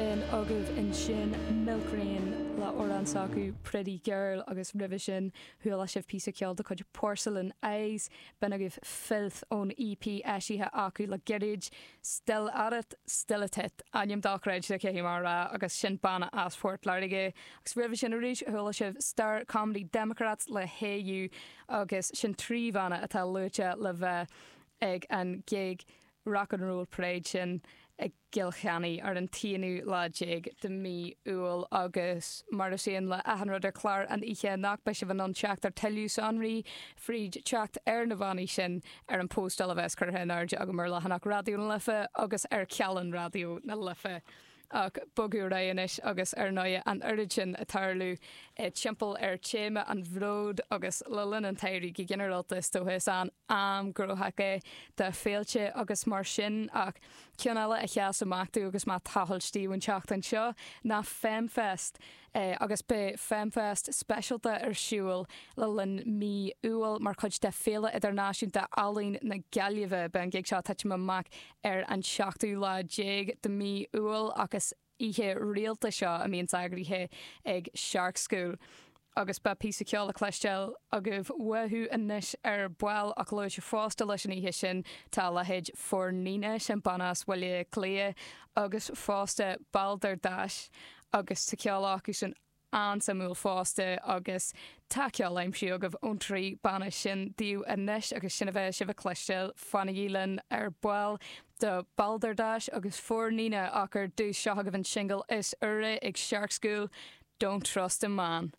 B'in agaibh ansin Milk Rain le amhrán s'acu Pretty Girl agus roimhe sin chuala sibh píosa ceoil de chuid Porcelain Eyes. B'in agaibh Filth ón EP eisithe acu le gairid. Still At It, Still At It, ainm dochreidte caithfidh mé a rá agus sin banna as Port Láirge. Agus roimhe sin arís chuala sibh Star Comedy Democrats le Hey You agus sin 3 bhanna atá luaite le bheith ag an gig Rock and Roll Parade sin i gCill Chainnigh ar an t-aonú lá déag de mhí Iúil agus mar is aon le achan rud ar chlár an oíche anocht beidh sibh in ann teacht ar tuilleadh sonraí fríd teacht ar na bannaí sin ar an póstáil a bheas curtha in airde agam ar leathanach Raidió na Life agus ar chealann Raidió na Life. Ach bogadh ar aghaidh anois agus ar ndóigh an oiread sin ag tarlú timpeall ar téama an bhróid agus le linn an tsamhraidh go ginearálta is dócha is an am gnóthach é do féilte agus mar sin ach ceann eile a sheas amach domh agus mé ag tochailt daoibh an tseachtain seo ná Femfest agus beidh Femfest speisialta ar siúl le linn mí Iúil mar chuid de Féile Idirnáisiúnta Ealaíon na Gaillimhe. Beidh an gig seo ag titim amach ar an seachtú lá déag de mí Iúil ach is oíche rialta seo a mbíonns eagraithe ag Shark School. Agus beidh píosa ceoil le cloisteáil agaibh uathu anois ar ball ach luaite fosta leis an oíche sin tá a leithéid For Nina, sin banna as Bhaile Átha Cliath, agus fosta Balderdash agus tá ceol acusan an-suimiúil fosta agus tá ceol aimsithe agaibh ón dtrí banna sin daoibh anois agus sin a bheidh sibh a chloisteáil. Fanaigí linn ar ball do Balderdash agus For Nina ach ar dtús seo agaibh an singil is úire ag Shark School, Don't Trust a Man.